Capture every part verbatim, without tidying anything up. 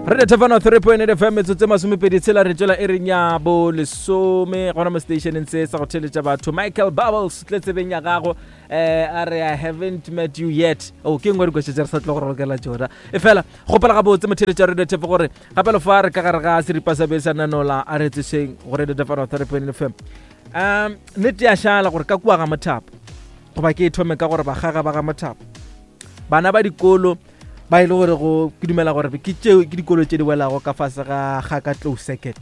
Radio Tefano three point eight F M, metsotso e masomepedi tshela, re tšwela e reng ya bo lesome gona mo stationeng se sa go theletša batho. Michael Bubbles tle tsebeng ya gago, eh, a re I haven't met you yet. Oh, ke nngwe dikoše tše re sa tlo go rokela tšona. E fela gopela gabotse motheletša Radio Tefo gore gape le fa re ka gare ga seripa sa be sa nanola a re tsešeng go Radio Tefano three point eight F M. Um, nnete ya šala gore ka kua ga mothapo, goba ke e thome ka gore bagaga ba ga mothapo, bana ba dikolo ba e le gore go ke dumela gore ke tšeo ke dikolo tše di welago ka fase ga Kgaka Tlou Circuit,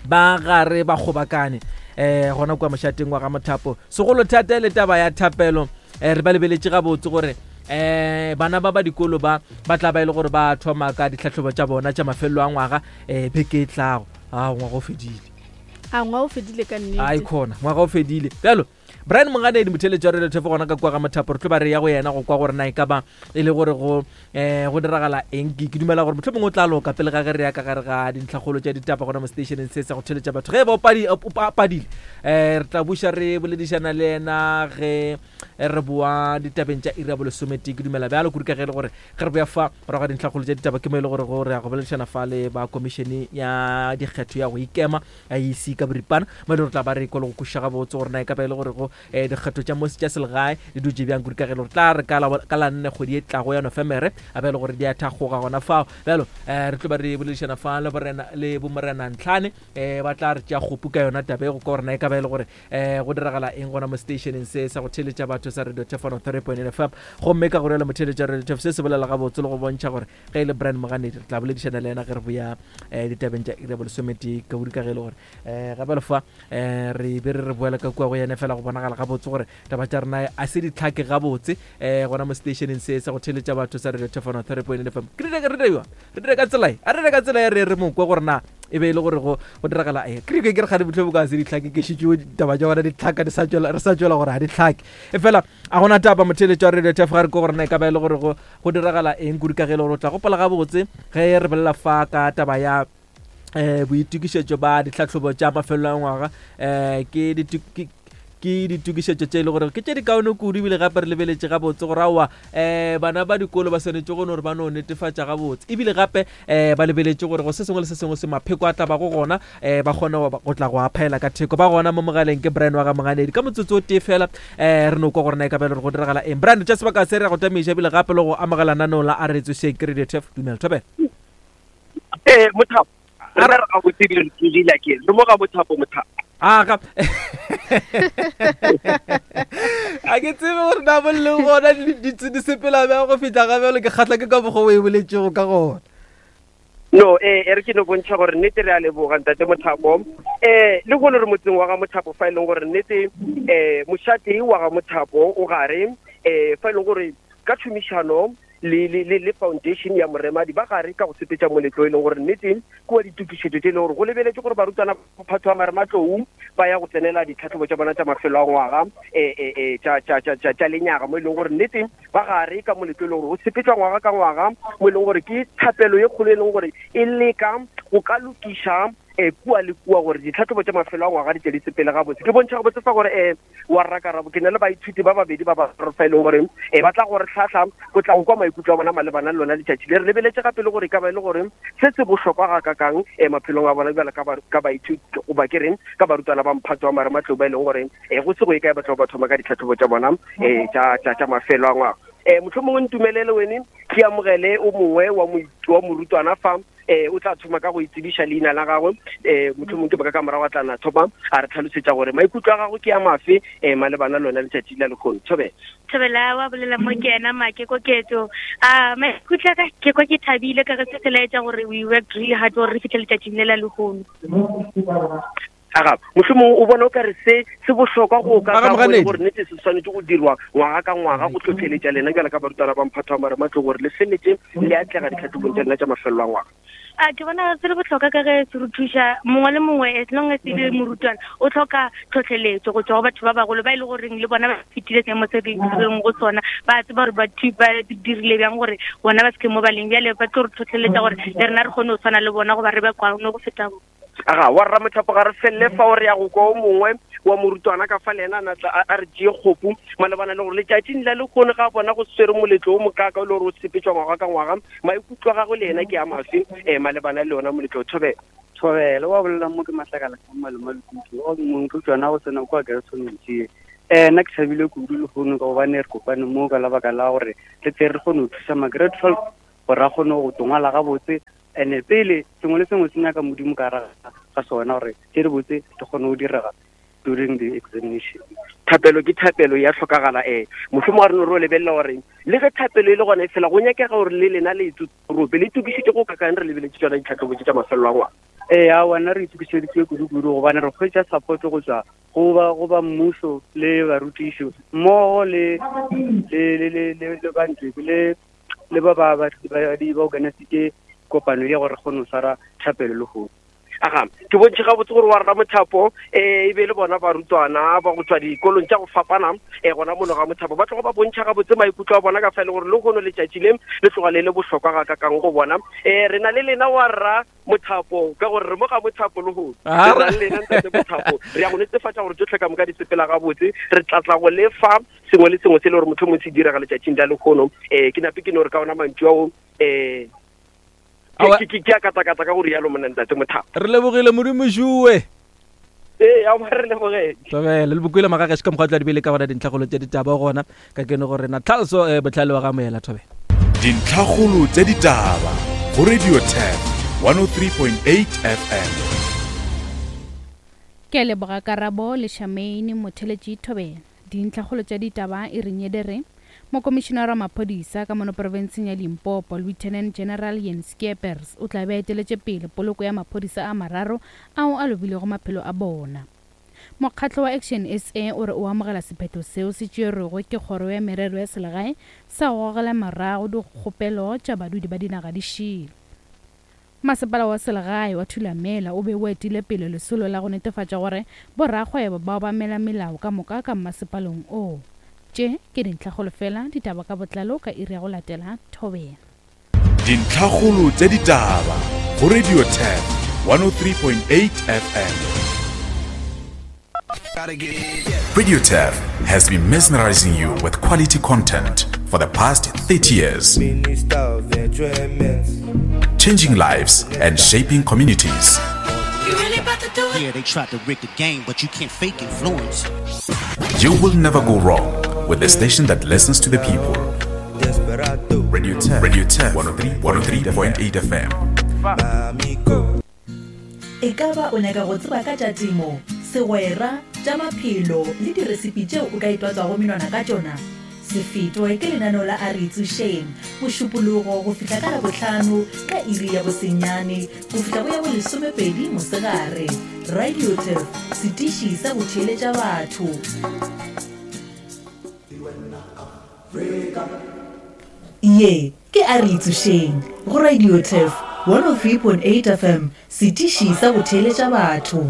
ba gare ba kgobakane eh gona kua mošateng wa ga mothapo. Segolo thata le taba ya thapelo, eh, re ba lebeletše gabotse gore eh bana ba ba dikolo ba ba tla ba e le gore ba thoma ka ditlhahlobo tša bona tša mafelelo a ngwaga, eh beke e tlago. A ngwaga o fedile. A ngwaga o fedile ka nnete. Ai khona, ngwaga o fedile. Bjalo Brian Moganedi motheletši wa Radio Tefo gona ka kua ga mothapo, re tlo ba re ya go yena go kwa gore na e ka ba e le gore go, eh, go diragala eng. Ke, ke dumela gore mohlomongwe o tla loka pele ga ge re ya ka gare ga dintlhakgolo tša ditaba gona mo stationeng se sa go theletša batho. Ge e ba o padi-, o pa-, padile, eh, re tla buša re boledišana le yena ge re boa ditabeng tša iri ya bolesometee. Ke dumela bjalo kudu ka ge e le gore ge re boya fa morago ga dintlhakgolo tša ditaba ke mo e le gore go re ya go boledišana fa le ba komišene ya dikgetho ya go ikema ya E C ka boripana, mo e le gore tla ba re kwa le go kwešiša gabotse gore na e ka ba e le gore go, eh, dikgetho tša mo tša selegae di dutše bjang kudu ka ge e le gore tla re ka la, ka la nne kgwedi e tlago ya Nofemere a be e le gore di a thakgoga gona fao. Bjalo, eh, re tlo ba re boledišana fa le borena, le bomorena Ntlhane, eh, ba tla re tšea kgopu ka yona taba e go kwa gore na e ka ba e le gore, eh, go diragala eng gona mo stationeng se sa go theletša batho sa Radio Tefano three point eight F M. Gomme ka go rialo motheletša Radio Tefo se se bolela gabotse le go bontšha gore ge e le Brian Moganedi re tla boledišana le yena ge re boya, eh, ditabeng tša iri ya bolesometee ka kudu ka ge e le gore, eh, gape le fa, eh, re be re re boela ka kua go yena fela go bonagala gabotse gore taba tša rena a se di tlhake gabotse, eh, gona mo stationeng se sa go theletša batho sa Radio Tefano three point eight F M. Ke dire, re dire jwang? Re dire ka tsela e? A re dire ka tsela e re re mokwe gore na e be e le gore go, go diragala eng. Ke re ke re kgale bohloko ka se di tlhake, ke šetše taba tša gona di tlhaka, di sa tšwela, re sa tšwela gore ga di tlhake. E fela a gona taba motheletša wa Radio Tefo ga re ke gore na e ka ba e le gore go, go diragala eng kudu ka ge e le gore o tla gopola gabotse ge re bolela fa ka taba ya, eh, boitokišetšo ba ditlhahlobo tša mafelelo a ngwaga, eh, ke ditu-, ke, ke ditokišetšo tše e le gore ke tše di kaone kudu, ebile gape re lebeletše gabotse gore aowa, eh, bana ba dikolo ba swanetše go no gore ba no netefatša gabotse, ebile gape, eh, ba lebeletše gore go se sengwe le se sengwe se mapheko a tla bago gona, eh, ba kgone go, go tla go a phaela ka theko. Ba gona mo mogaleng ke Brian wa ga Moganedi ka motsotso o tee fela, eh, re no kwa gore na e ka ba e le gore go diragala eng. Brian, tša sebaka se re ya go tamiša ebile gape le go amogela nanong la a re tsošeng ke Radio Tefo. Dumela, thobela. Eh, Mothapo, re re ga botse ebile re tsogile ke, re mo ga Mothapo, Mothapo. A ga a ke tsebe gore na bo leng gona di, di, di sepela bjang go fihla ga bjalo, ke kgahla ke ka mokgwa o e boletšego ka gona. No, eh, e re ke no bontšha gore nnete re a leboga ntate Mothapo. Eh, le gone re motseng wa ga Mothapo fa e leng gore nnete, eh, mošate wa ga Mothapo o gare, eh, fa e leng gore ka tšhomišano le, le, le, le foundation ya Moremadi ba gare ka go sepetša moletlo e leng gore nnete ke wa ditokišetšo tše e leng gore go lebeletše gore barutwana ba phatho ya marematlou ba ya go tsenela ditlhahlobo tša bona tša mafelo a ngwaga, eh, eh, eh, tša, tša, tša, tša, tša lenyaga, mo e leng gore nnete ba gare ka moletlo e leng gore o sepetšwa ngwaga ka ngwaga, mo e leng gore ke thapelo ye kgolo e leng gore e leka go ka lokiša, eh, kua le kua gore ditlhahlobo tša mafelo a ngwaga di tle di sepele gabotse. Ke bontšha gabotse fa gore, eh, wa rra Karabo, ke na le baithuti ba babedi ba bararo fa e leng gore, eh, ba tla gore hlahla go tla go kwa maikutlo a bona malebana le lona letšatši le. Re lebeletše gape le gore e ka ba e le gore se se bohlokwa gakakang, eh, maphelong a bona bjalo ka ba-, ka baithuti, goba ke reng, ka barutwana ba mphato wa marematlou ba e leng gore, eh, go se go ye kae ba tla ba thoma ka ditlhahlobo tša bona, eh, tša, tša, tša mafelo a ngwaga. Eh, mohlomongwe ntumelele wene ke amogele o mongwe wa moi-, wa morutwana fa, eh, o tla thoma ka go itsebiša leina la gagwe, eh, mohlomongwe ke boka ka morago a tla na thoma a re tlhalosetša gore maikutlo a gagwe ke a mafe, eh, malebana le lona letšatši la lehono. Thobela. Thobela, wa bolela mo ke ena Make Koketso. Ah, maikutlo a ka ke kwa ke thabile ka ge se se laetša gore we worked really hard gore re fihle letšatšing le la lehono. Aga, mohlomongwe o bona o ka re se se bohlokwa go ka Aga, ka Moganedi. gore nnete se swanetše go dirwa ngwaga ka ngwaga go hlohleletša lena bjalo ka barutwana ba mphato wa marematlou gore le feletše le atlega ditlhahlobong tša lena tša mafelelo a ngwaga. A ke bona se le bohlokwa ka ge se re thuša mongwe le mongwe, as long as e le morutwana o hloka tlhohleletšo go tšwa go batho ba bagolo ba e le goreng le bona ba fetile seemo se re leng go sona, ba tseba gore ba thu-, ba dirile bjang gore bona ba se ke mo ba leng. Bjale ba tlo re tlhohleletša gore le rena re kgone go tshwana le bona goba re be kaone go feta bona. Aga wa rra Mothapo ga re felele fa o re ya go kwa o mongwe wa morutwana ka fa le ena a a re tšee kgopu malebana le gore letšatšing la lekgono ga bona go swere moletlo o mokaka o le gore o sepetšwa ngwaga ka ngwaga, maikutlo a gagwe le ena ke a mafe um malebana le yona moletlo. Thobela. Thobela wa bolela mo ke Matlakala ka malome Lekutu o morutwana go tsena kwa Gerson Ntsie. Eh nna ke thabile kudu lehono ka gobane re kopane mo ka lebaka la gore re tle re kgone go thusa ma grade twelve gore a kgone go tongwala gabotse. Ene pele sengwe le sengwe se nyaka Modimo ka gare ga sona gore tše di botse di kgone go direga during the examination. Thapelo ke thapelo ya tlhokagala. um mošomo wa rena re o lebelela gore le ge thapelo e le gona e fela go nyakega gore le lena le itsotorope le itokišitše go kakang re lebeletše tsona ditlhatlhobo tše tša mafelelo a ngwaga. Ee, aowa nna re itokišeditše kudu-kudu gobane re hwetša support go tswa go ba go ba mmušo le barutiši mmogo le le le le le le bantlo le le ba ba ba ba organisitše kopano ya gore re kgone go swara thapelo lehono. Aga ke bontšhe gabotse gore wa rra Mothapo um e be le bona barutwana ba go tswa dikolong tša go fapana um gona mono ga Mothapo ba tlogo ba bontšha gabotse maikutlo a bona ka fa e le gore le kgono letšatši le le tloga le le bohlokwa ga kakang go bona. Um re na le lena wa rra Mothapo ka gore re mo ga Mothapo le gono re na le lena ntate Mothapo, re ya go netefatša gore tšohle ka moka di sepela gabotse, re tlatla go lefa sengwe le sengwe se le gore motho mongwe se direga letšatšing la lekgono. Um ke nape ke no re ka ona mantšu ao um ke a katakata ka gore yalo monna ntate Mothapo. Re lebogile Modimo joe. Ee, a re lebogele. Thobela le bokwele magagešo ka mokgwa tla dibele ka gona dintlhakgolo tša ditaba gona ka keno gore na tlhaloso um botlhale wa ga moela. Thobela. Dintlhakgolo tša ditaba go Radio Tap one oh three point eight F M. Ke a leboga Karabo le Shamaine motheletši. Thobela. Dintlhakgolo tša ditaba e re nyedere mokomišenara wa maphodisa ka mono profenseng ya Limpopo Lieutenant General Jens Skeepers o tla be a eteletše pele poloko ya maphodisa a mararo ao a lobilego maphelo a bona. Mokgatlo wa Action S A o re o amogela sephetho seo se tšerwego ke kgoro ya merero ya selegae sa go gogela morago dikgopelo tša badudi ba dinaga di šele. Masepala wa selegae wa Thulamela o be o etile pele lesolo la go netefatša gore borakgwebo ba obamela melao ka moka ka mmasepaleng oo. Tše ke dintlhakgolo fela, ditaba ka botlalo ka iri ya go latela. Thobela. Dintlhakgolo tša ditaba go Radio Tap one oh three point eight F M. Radio Tap has been mesmerizing you with quality content for the past thirty years. Changing lives and shaping communities. Yeah, they tried to rig the game, but you can't fake influence. You will never go wrong with the station that listens to the people. Radio Tap, Radio Tap one oh three point eight F M. E ka ba o nyaka go tseba ka tša temo, segwera, tša maphelo le diresipi tšeo o ka itwatswago menwana ka tšona? Se fetwe ke lenaneo la A Re Itsošeng mošupologo go fihla ka Labohlano ka iri ya bosenyane go fihla go ya bo lesomepedi mosegare. Radio Tap, setiši sa go theeletša batho. Ye ke A Re Itsošeng go Radio Tap one oh three point eight F M, setiši sa go theeletša batho.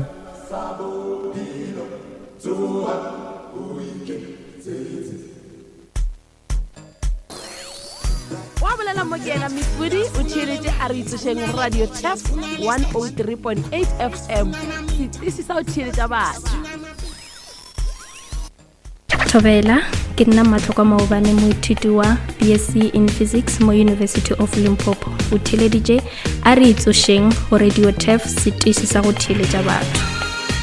Wa bolela mo ke ena Mefudi o theeletše A Re Itsošeng Radio Tap one oh three point eight F M, setiši sa go theeletša batho. Thobela, ke nna Matlhokwa Maobane, moithuti wa B S C in Physics mo University of Limpopo. O theeleditše A Re Itsošeng go Radio Tap, setiši sa go theeletša batho.